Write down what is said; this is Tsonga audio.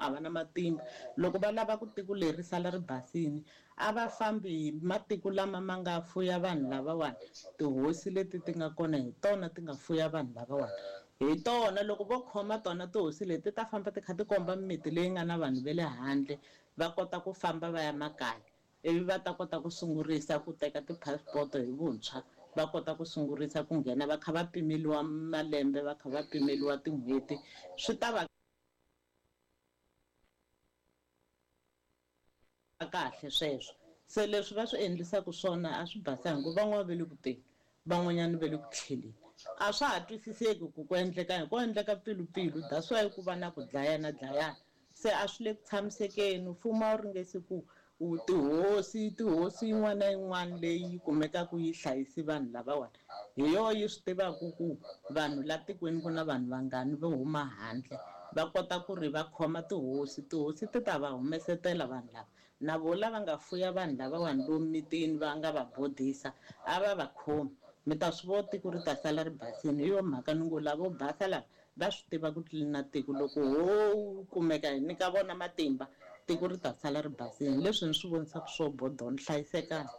a va na matimba. Loko va lava ku tiko leri sala ri basini, a va fambi hi matiko lama ma nga fuya vanhu lavawani. Tihosi leti ti nga kona hi tona ti nga fuya vanhu lavawani. Hi tona loko vo khoma tona tihosi leti ti ta famba ti kha ti komba mimiti leyi nga na vanhu va le handle, va kota ku famba va ya makaya, ivi va ta kota ku sungurisa ku teka ti-passport hi vuntshwa, va kota ku sungurisa ku nghena va kha va pimeliwa malembe, va kha va pimeliwa tin'hweti, swi ta va kahle sweswo. Se leswi va swi endlisaka swona a swi basanga, ku van'wana va le ku teni, van'wanyana va le ku tlheleni. A swa ha twisiseki ku ku endleka yini, ko endleka mpfilumpfilu, that's why ku va na ku dlayana dlayana. Se a swi le ku tshamisekeni, mfumo a wu ringesi ku tihosi, tihosi yin'wana na yin'wana leyi kumekaka yi hlayisi vanhu lavawani, hi yoho yi swi tivaka ku vanhu la tikweni ku na vanhu vangani vo huma handle, va kota ku ri va khoma tihosi, tihosi ti ta va humesetela vanhu lava. Na vo lava nga fuya vanhu lavawani lomu mitini va nga va bodisa, a va va khomi. Mi ta swi vona tiko ri ta sala ri basini. Hi yo mhaka ni ngo lavo basa lava va swi tiva ku tlilina tiko, loko ho kumeka hi nyika vona matimba, tiko ri ta sala ri basini. Leswi ni swi vonisaka swo bodoni, hlayisekani.